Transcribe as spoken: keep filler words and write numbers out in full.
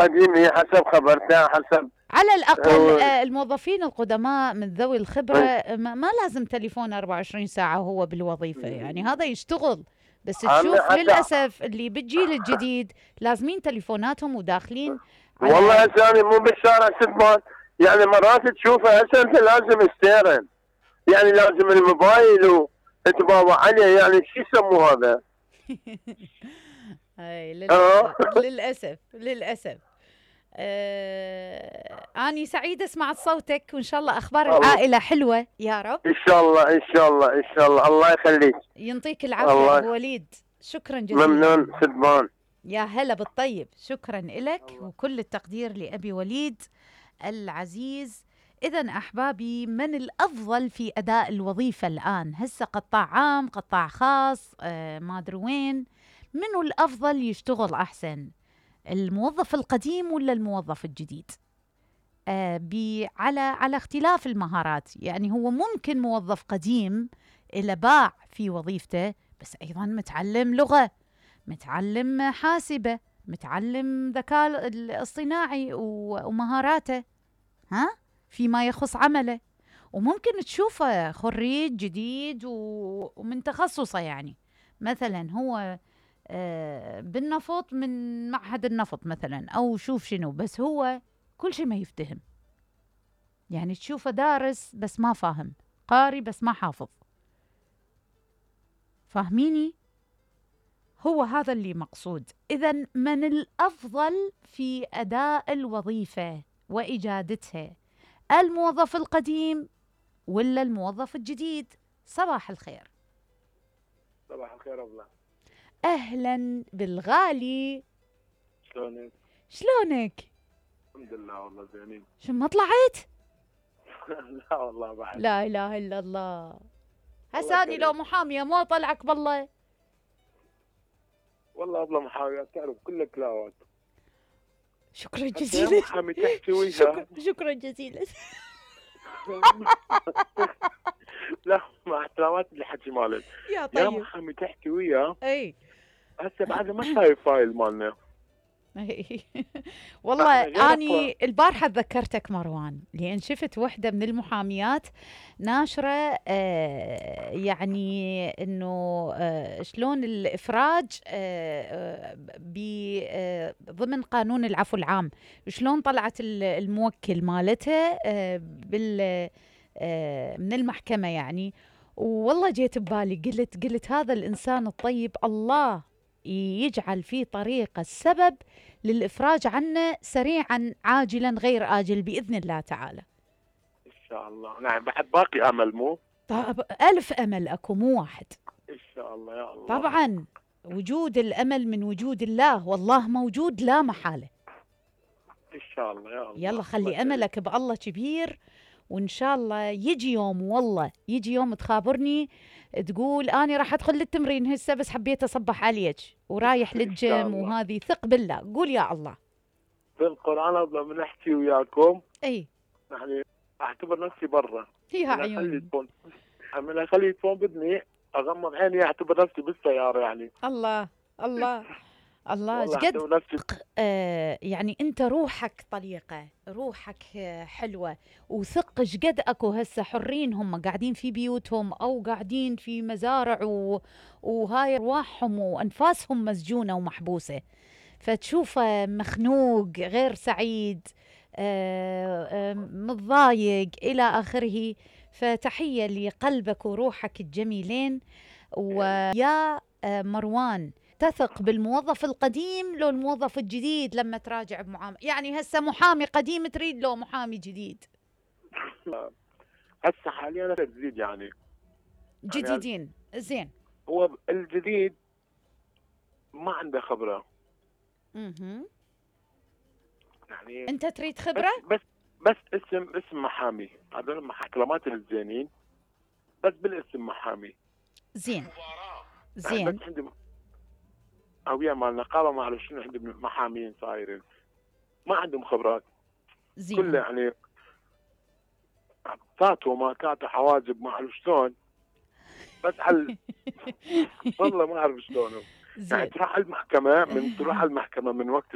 القديم هي حسب خبرتها حسب. على الأقل هو آه، الموظفين القدماء من ذوي الخبرة إيه. ما ما لازم تليفون أربعة وعشرين ساعة وهو بالوظيفة، يعني هذا يشتغل. بس عمي تشوف حتى للأسف اللي بالجيل الجديد لازمين تليفوناتهم وداخلين والله على هسه أنا مو بالشارع سدمان، يعني مرات تشوفها هسه انت لازم ستيرن، يعني لازم الموبايل وتباوع عليه، يعني شو يسموه هذا؟ هاي اه للأسف للأسف للأسف. آه أني سعيدة سمعت صوتك، وإن شاء الله أخبار الله العائلة حلوة يا رب. ان شاء الله ان شاء الله ان شاء الله، الله يخليك. ينطيك العافية الله أبو وليد، شكرا جزيلا. ممنون سدمان. يا هلا بالطيب، شكرا لك وكل التقدير لأبي وليد العزيز. إذن أحبابي، من الأفضل في أداء الوظيفة الآن؟ هسه قطاع عام، قطاع خاص، آه ما أدري وين، منو الأفضل يشتغل أحسن؟ الموظف القديم ولا الموظف الجديد؟ آه على على اختلاف المهارات. يعني هو ممكن موظف قديم إلى باع في وظيفته، بس أيضا متعلم لغة، متعلم حاسبة، متعلم ذكاء الاصطناعي ومهاراته ها فيما يخص عمله. وممكن تشوفه خريج جديد ومن تخصصه، يعني مثلا هو بالنفط من معهد النفط مثلا، أو شوف شنو، بس هو كل شيء ما يفتهم. يعني تشوفه دارس بس ما فاهم، قاري بس ما حافظ. فاهميني؟ هو هذا اللي مقصود. إذن من الأفضل في أداء الوظيفة وإجادتها؟ الموظف القديم ولا الموظف الجديد؟ صباح الخير. صباح الخير أبله. أهلا بالغالي. شلونك؟ شلونك؟ الحمد لله والله زينين. شو ما طلعت؟ لا والله بعد. لا إله إلا الله. هساني لو محامية مو طلعك بالله. والله أبله محامية تعرف كل كلاوات. شكرا جزيلا. محامي تحكي وياها. شكرا, شكرا جزيلا. لا مع احترامات اللي حكي مالك. يا طيب. يا محامي تحكي وياه. اي. هسه بعد ما شايف فايل مالنا. والله اني البارحه تذكرتك مروان، لان شفت وحده من المحاميات ناشره آه يعني انه آه شلون الافراج آه آه ضمن قانون العفو العام، شلون طلعت الموكل مالتها آه بال آه من المحكمه يعني. والله جيت ببالي، قلت قلت هذا الانسان الطيب الله يجعل في طريقة السبب للإفراج عنه سريعا عاجلا غير آجل بإذن الله تعالى إن شاء الله. نعم بعد باقي أمل مو؟ طب ألف أمل أكو مو واحد إن شاء الله يا الله. طبعا وجود الأمل من وجود الله، والله موجود لا محالة. إن شاء الله يا الله. يلا خلي أملك بالله كبير، وإن شاء الله يجي يوم، والله يجي يوم تخابرني تقول أنا راح أدخل للتمرين هسه بس حبيت أصبح عليك ورايح للجيم، وهذه ثق بالله. قول يا الله. في القرآن قبل ما نحكي وياكم أي يعني أعتبر نفسي برا. يا عيوني. من أخلي التليفون بدني أغمض عيني أعتبر نفسي بالسيارة يعني. الله الله الله جد آه يعني انت روحك طليقه، روحك حلوه، وثق شقد اكو هسه حرين هم قاعدين في بيوتهم او قاعدين في مزارع و... وهاي ارواحهم وانفاسهم مسجونه ومحبوسه، فتشوفه مخنوق غير سعيد آه آه متضايق الى اخره. فتحيه لقلبك وروحك الجميلين. ويا آه مروان، تثق بالموظف القديم لو الموظف الجديد لما تراجع بمعاملة؟ يعني هسه محامي قديم تريد لو محامي جديد؟ هسه حاليا جديد يعني جديدين. يعني زين. هو الجديد ما عنده خبرة. اها يعني انت تريد خبرة؟ بس بس, بس اسم اسم محامي، هذول محكمات الزينين بس بالاسم محامي. زين زين. يعني بس عندي هوية مال نقابة ما أعرف شنو، عندهم محامين صايرين ما عندهم خبرات. زين. كله يعني كاتو ما كاتو حواجب ما أعرف شلون، بس على والله ما أعرف شلون. يعني تروح المحكمة، من تروح المحكمة من وقت